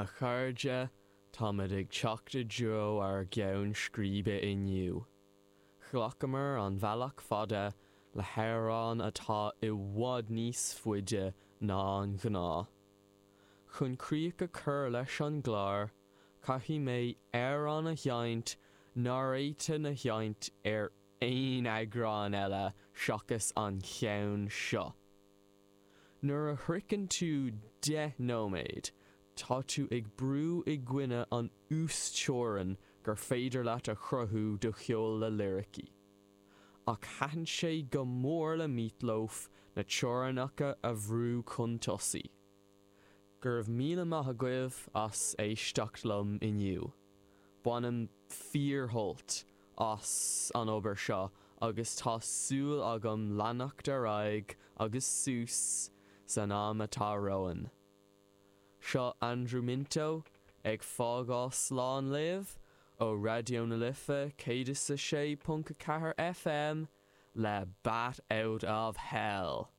A chairde, táimid ag teacht i dtreo ár gceann scríbe inniu. Ghlacamar an bealach fada le hamhrán atá i bhfad níos faide ná an gnáth. Chun críoch a chur leis an gclár, caithfidh mé amhrán a sheinnt nár fhéadfainn a sheinnt ar aon eagrán eile seachas an ceann seo. Nuair a shroicheann tú 10 nóiméad, tá tú ag brú i gcoinne an uasteorainn gur féidir leat a chruthú do cheol le liricí. Ach thaitin sé go mór le Meat Loaf na teorainneacha a bhrú chun tosaigh. Go raibh míle maith agaibh as éisteacht liom inniu. Bainim fíorshult as an obair seo agus tá súil agam leanacht ar aghaidh agus suas san am atá romhainn. Seo Andrew Minto ag fágáil slán libh ó Raidió na Life 106.4 FM le Bat Out of Hell!